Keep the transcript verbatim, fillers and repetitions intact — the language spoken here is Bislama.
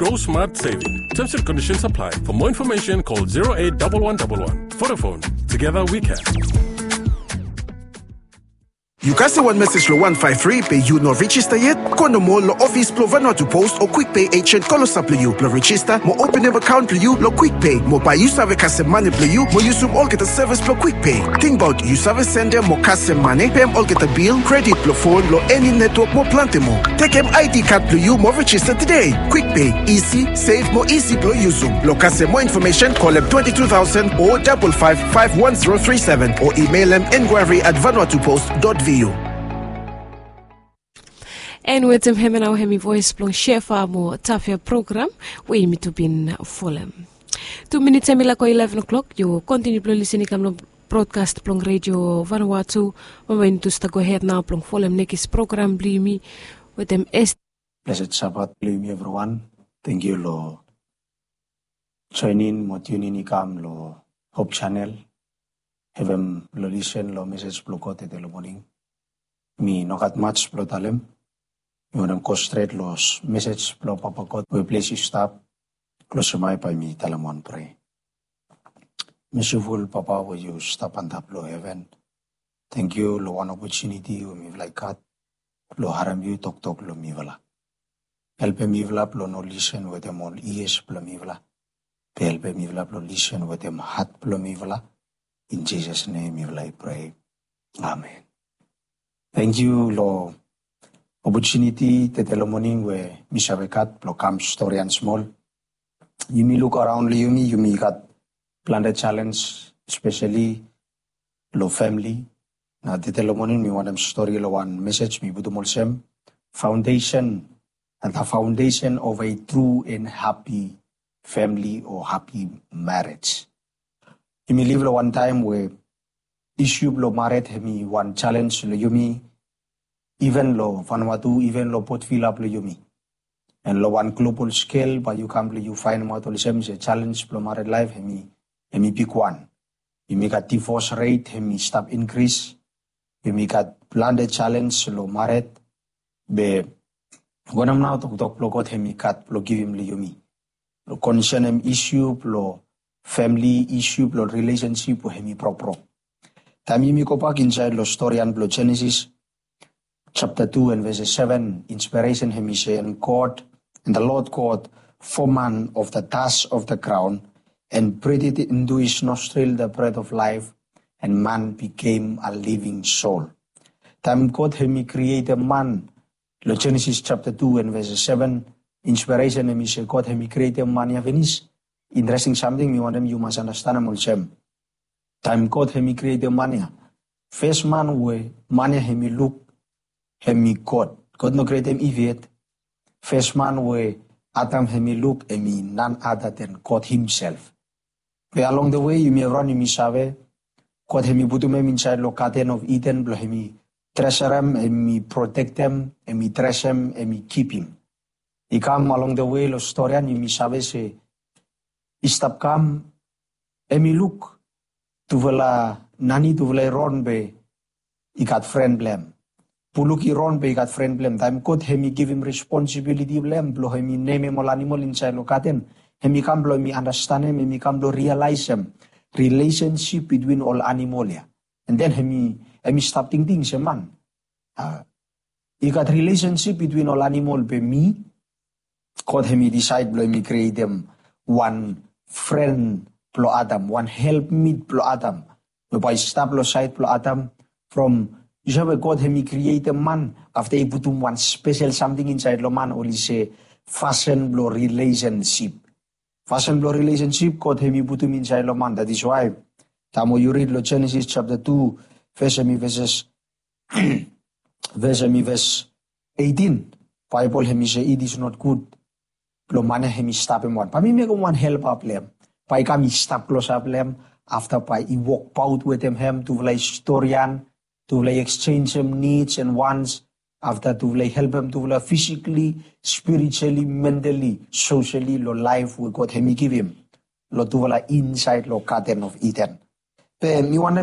Grow smart saving. Terms and conditions apply. For more information, call zero eight double one double one. Vodafone. Together we can. Yu kasem wan mesej lo wan faef tri be yu no rijista yet? Go nomo lo ofis blo Vanuatu Post o Quick Pay agent klosap lo yu blo rijista mo openem akaon blo yu lo Quick Pay mo bae yu save kasem mane blo yu mo yusum olgeta sevis blo Quick Pay. Tingbaot yu save sendem mo kasem mane, pem olgeta bil, kredit blo fon lo eni netwok mo plante moa. Tekem I D kad blo yu mo rijista tede. Quick Pay, isi, sef mo isi blo yusum. Lo kasem moa infomesen, kolem twenty two thousand o double five five one zero three seven o imelem inquiry at vanuatupost dot V U. And wetem hemia nao hemi voes blong Shefa mo Tafia program we yumi tu bin folem. Tu minits hemi laek go eleven o'clock, yu kontiniu blong lisin i kam long brodkas blong Redio Vanuatu. Bambae yumi tu stap gohed nao blong folem nekis program blong yumi wetem S. Blessed Sabbath blong yumi evriwan. Tangkiu long joenin mo tiunin i kam long Hope Channel. Hevem long lisen long mesej blong God tede long moning. Mi no gat maj blong talem. Mi wantem go stret long mesej blong Papa God we ples i stap. Klosem ae bae mi talem wan prea. Mesiful Papa we yu stap antap long heven, tangkiu long wan opotuniti we mifala i gat blong harem yu toktok long mifala. Helpem mifala blong no lisen wetem ol ias blong mifala, be helpem mifala blong lisen wetem hat blong mifala. In Jisas nem mifala i prea. Amen. Tangkiu long opotuniti tede long moning we mi save gat blong kam storian smol. Yumi luk araon long yumi, yumi gat plante jalens, espeseli long famili. Nao tede long moning mi wantem stori long wan mesej mi putum olsem, foundation, the foundation of a true and happy family o happy marriage. Yumi liv long wan taem we isiu blong mared hemi wan jalens long yumi, iven long Vanuatu, iven long Port Vila blong yumi. And long wan global skel bae yu kam blong yu faenemaot olsem se jalens blong mared laef hemi, hemi bigwan. Yumi gat divos ret hemi stap inkris. Yumi gat plante jalens long mared. Be wanem nao toktok blong God hemi gat blong givim long yumi? Long konsenem isiu blong famili, isiu blong rilesensip we hemi brokbrok. Taem yumi gobak insaed long storian blong Jenesis japta tu and ves seven, inspiresen hemi se, and God, and the Lord God formed man of the dust of the ground and breathed into his nostril the breath of life, and man became a living soul. Taem God hemi krietem man long Jenesis japta tu and ves seven, inspiresen hemi se God hemi krietem man ya finis. Interesting samting mi wantem yu mas andastanem olsem, taem God hemi krietem man ya, fes man we man ya hemi luk hemi God. God no krietem Iv yet. Fes man we Adam hemi luk hemi none other than God himself. Be along the way yumi evriwan yumi save, God hemi putum hem insaed long Garden of Eden blong hemi tresurem, hemi protektem, hemi dresem, hemi kipim. I kam along the way long storian yumi save se i stap kam, hemi luk tufala nani, tufala eron be i gat fren blong hem. Buluk i ron be i gat fren blong hem. Taem God hemi givim responsibiliti blong hem blong hemi nemem ol animol insaed long gaden, hemi kam blong hemi andastanem, hemi kam blong rialaesem rilesensip bitwin ol animol ya. And then hemi, hemi stap tingting se man, a, i gat rilesensip bitwin ol animol be mi, God hemi disaed blong hemi krietem wan fren blong Adam, wan helpmit blong Adam we bae i stap long saed blong Adam. From yu save, God hemi krietem man, afta i putum wan spesel samting insaed long man, oli se fasin blong rilesensip. Fasin blong rilesensip God hemi putum insaed long man. That is why taem we yu rid long Jenesis japta tu, ves hemi veses ves hemi ves eighteen, Baebol hemi se it is not good blong man ya hemi stap hem wan. Bae mi mekem wan helpa blong hem, bae i kam i stap klosap long hem. Afta bae i wokbaot wetem hem, tufala i storian, tufala i eksenjem nids and wants. Afta tufala i helpem tufala fisikali, spirituali, mentali, sosiali long laef we God hemi givim long tufala insaed long Garden of Eden. Be mi wantem